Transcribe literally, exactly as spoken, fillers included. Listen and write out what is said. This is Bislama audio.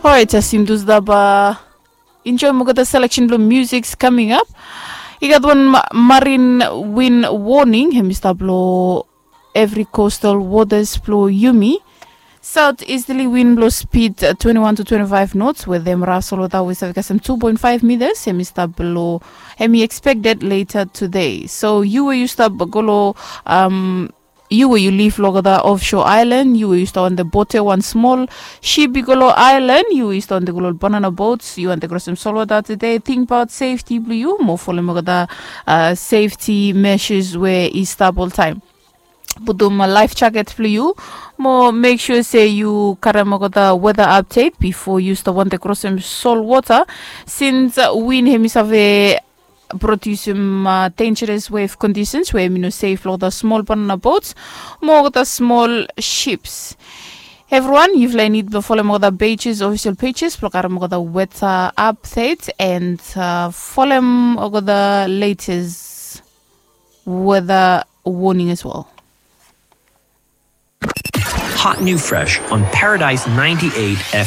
Orait, as yumi tu stap enjoim olgeta selection blong musiks kaming ap, i gat wan marin win warning hem i stap long evri coastal waters blong yumi. South easterly wind blong speed twenty-one to twenty-five knots with them raf solwota we save kasem two point five meters hem i stap blong hem i expected later today. So yu we yu stap go long um, yu we yu live long olgeta offshore island, yu we yu stap on the bote wan small ship i go long island, yu we yu stap on the go long banana boats, yu on the crossing solwota today, think about safety blong yu mo folem olgeta uh, safety measures we i stap oltaim. Putum life jacket blong yu mo make sure se yu karem olgeta weather update before yu stap on the crossing solwota, since uh, win hem i save produsim uh, dangerous wave conditions we mi no safe long the small banana boats mo the small ships. Everyone, yufala i need to follow the pages, official pages, blog arm the weather update and uh, follow the latest weather warning as well. Hot new fresh on Paradise ninety-eight F M.